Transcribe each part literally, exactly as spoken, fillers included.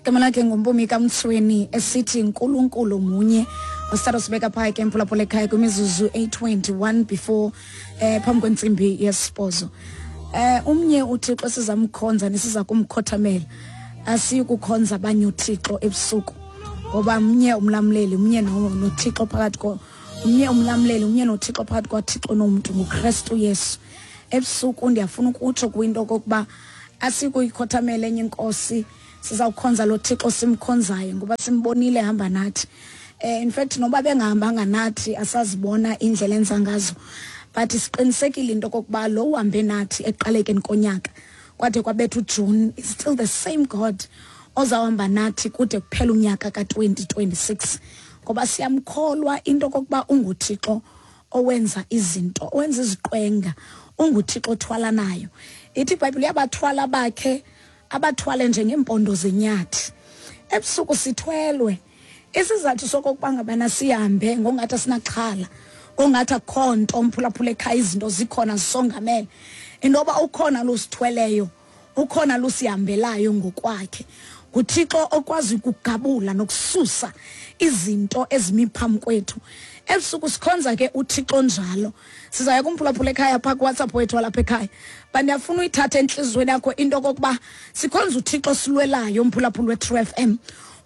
Igama lakhe nguMpumi kaMtsweni, esithi Nkulunkulu munye. Osithatha sibeka phaa ke, mphulaphula ekhaya, kwimizuzu eyi-twenty-one before eh phambi kwentsimbi yesibhozo. eh umnye uThixo sizamkhonza nesiza kumkhothamela. Asiyi kukhonza abanye uThixo ebusuku, ngoba mnye umlamleli, mnye noThixo phakathi ko mnye umlamleli, mnye noThixo phakathi kwaThixo nomntu, nguKristu Yesu. Ebusuku ndiyafuna ukutsho kwinto okokuba asikuyikhothamela enye inkosi, sizawukhonza lo Thixo simkhonzayo, ngoba simbonile ehamba nathi. eh in fact, noba bengahambanga nathi, asazibona indlela enza ngazo, but siqinisekile into okokuba lo uhambe nathi ekuqalekeni konyaka kwade kwabetha uJune is still the same God ozawuhamba nathi kude kuphela unyaka ka-twenty twenty-six, ngoba siyamkholwa into okokuba unguThixo owenza izinto, owenza iziqwenga, unguThixo othwalanayo. Ithi iBhayibhile uyabathwala bakhe, abathwale njengeempondo zenyathi. Ebusuku sithwelwe. Isizathu sokokuba ngabana sihambe ngongathi asinaxhala, ngongathi akukho nto, mphulaphula ekhaya, izinto zikhona zisongamele, intoba ukhona losithweleyo, ukhona lusihambelayo ngokwakhe. NguThixo okwazi ukugabula nokususa izinto ezimi phambi kwethu. Ebusuku sikhonza ke uThixo njalo. Sizaya kumphulaphula ekhaya phaa kuWhatsApp wethu walapha ekhaya, but ndiyafuna uyithathe entliziyweni yakho into okokuba sikhonza uThixo silwelayo, mphulaphula we-True F M,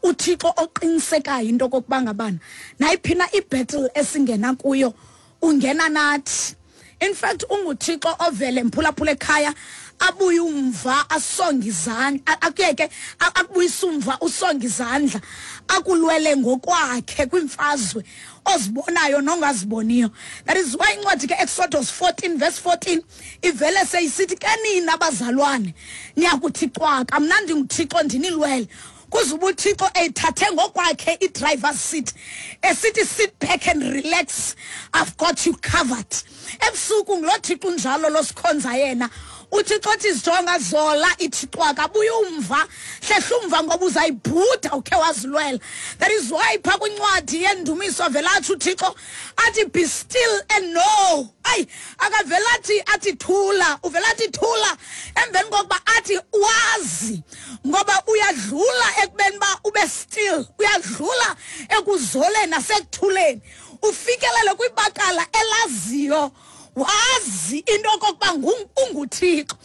uThixo oqinisekayo into okokuba ngabana nayiphi na ibattle esingena kuyo ungena nathi. In fact, unguThixo ovele, mphulaphula ekhaya, abuye umva asonge izandla, akuyeke akubuyisa umva, usonge izandla, akulwele ngokwakhe kwimfazwe ozibonayo nongaziboniyo. That is why incwadi ke Exodus fourteen verse fourteen ivele seyisithi ke, "Nina abazalwane niyakuthi cwaka, mna ndinguThixo ndinilwele." Kuze uba uThixo eyithathe ngokwakhe i-driver's seat, esithi, "Sit back and relax, I've got you covered." Ebusuku ngulo Thixo unjalo losikhonza yena, uThixo othi, "Zijonga, zola, ithi cwaka, buya umva, hlehla umva, ngoba uzayibhuda ukhe wazilwela." That is why phaa kwincwadi yeNdumiso vele atsho uThixo athi, "Be still and know." Ayi, akavele athi athi thula, uvele athi thula emveni kokuba athi wazi, ngoba uyadlula ekubeni uba ube still, uyadlula ekuzoleni nasekuthuleni, ufikelele kwibakala elaziyo, wazi into okokuba unguThixo,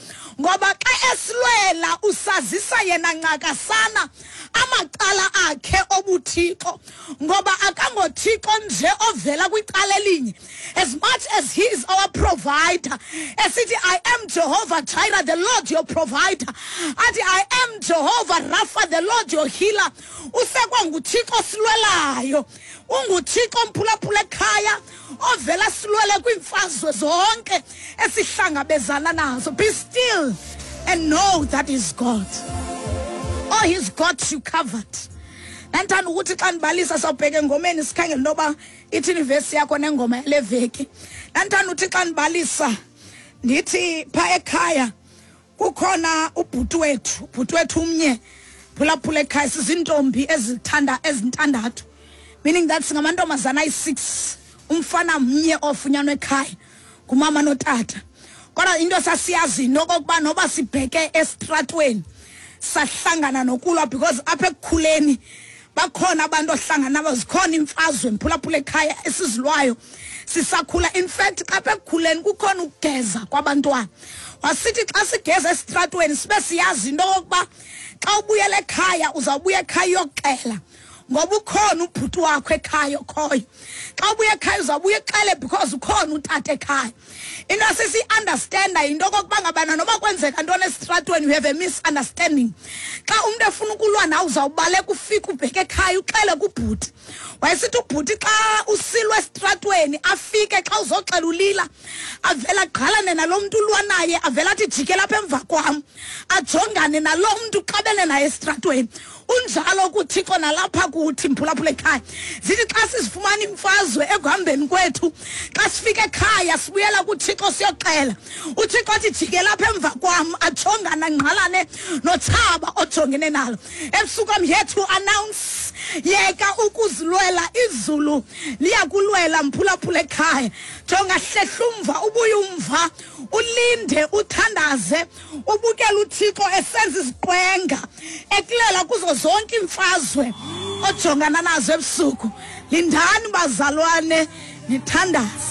ngoba xa esilwela usazisa yena ncakasana amacala akhe obuthixo, ngoba akangoThixo nje ovela kwicala elinye. As much as he is our provider, esithi, "I am Jehovah Jireh, the Lord your provider," athi, "I am Jehovah Rapha, the Lord your healer," usekwanguThixo silwelayo. UnguThixo, mphulaphula ekhaya, ovela silwele kwiimfazwe zonke esihlangabezana nazo. Be still and know that is God. Oh, he's got you covered. Ndandithanda ukuthi xa ndibalisa, sawubheka engomeni, sikhangele intoba ithini ivesi yakho nengoma yale veki. Ndandithanda ukuthi xa ndibalisa ndithi phaa ekhaya kukhona ubhuti wethu, ubhuti wethu umnye, phulaphula ekhaya. Sizintombi ezithanda ezintandathu, meaning that singamantombazana ayi-six, umfana mnye ofunyanwa ekhaya ngumama notata. Kodwa into sasiyazi into okokuba noba sibheke esitratweni sahlangana nokulwa, because apha ekukhuleni bakhona abantu ohlangana nabo, zikhona imfazwe, mphulaphula ekhaya, esizilwayo sisakhula. In fact, xa apha ekukhuleni kukhona ukugeza kwabantwana, wasithi xa sigeza esitratweni sibe siyazi into okokuba xa ubuyela ekhaya uzawubuya ekhaya uyoxela, ngoba ukhona ubhuti wakho ekhaya okhoyo. Xa ubuya ekhaya uzawubuya exele because ukhona utata ekhaya. Into sesiyi-understanda yinto okokuba ngabana noba kwenzeka ntoni esitratweni, you have a misunderstanding, xa umntu efuna ukulwa nawe uzawubaleka, ufike ubheke ekhaya uxele kubhuti. Wayesithi ubhuti xa usilwa esitratweni afike, xa uzoxela ulila, avele agqalane nalo mntu ulwa naye, avele athi, "Jikela apha emva kwam," ajongane nalo mntu uxabene naye esitratweni. Unjalo kuThixo nalapha kuthi, mphulaphula ekhaya. Zithi xa sizifumana imfazwe ekuhambeni kwethu, xa sifika ekhaya sibuyela kuThixo siyoxela. uThixo athi, "Jikela apha emva kwam," ajongane, angqalane notshaba. ojongene nalo ebusuku. I'm here to announce, yeka ukuzilwela, izulu liyakulwela. Mphulaphula ekhaya, jonga, hlehla umva, ubuye umva, ulinde, uthandaze, ubukele uThixo esenza iziqwenga ekulela kuzo zonke iimfazwe ojongana nazo ebusuku. Lindani bazalwane, nithandaze.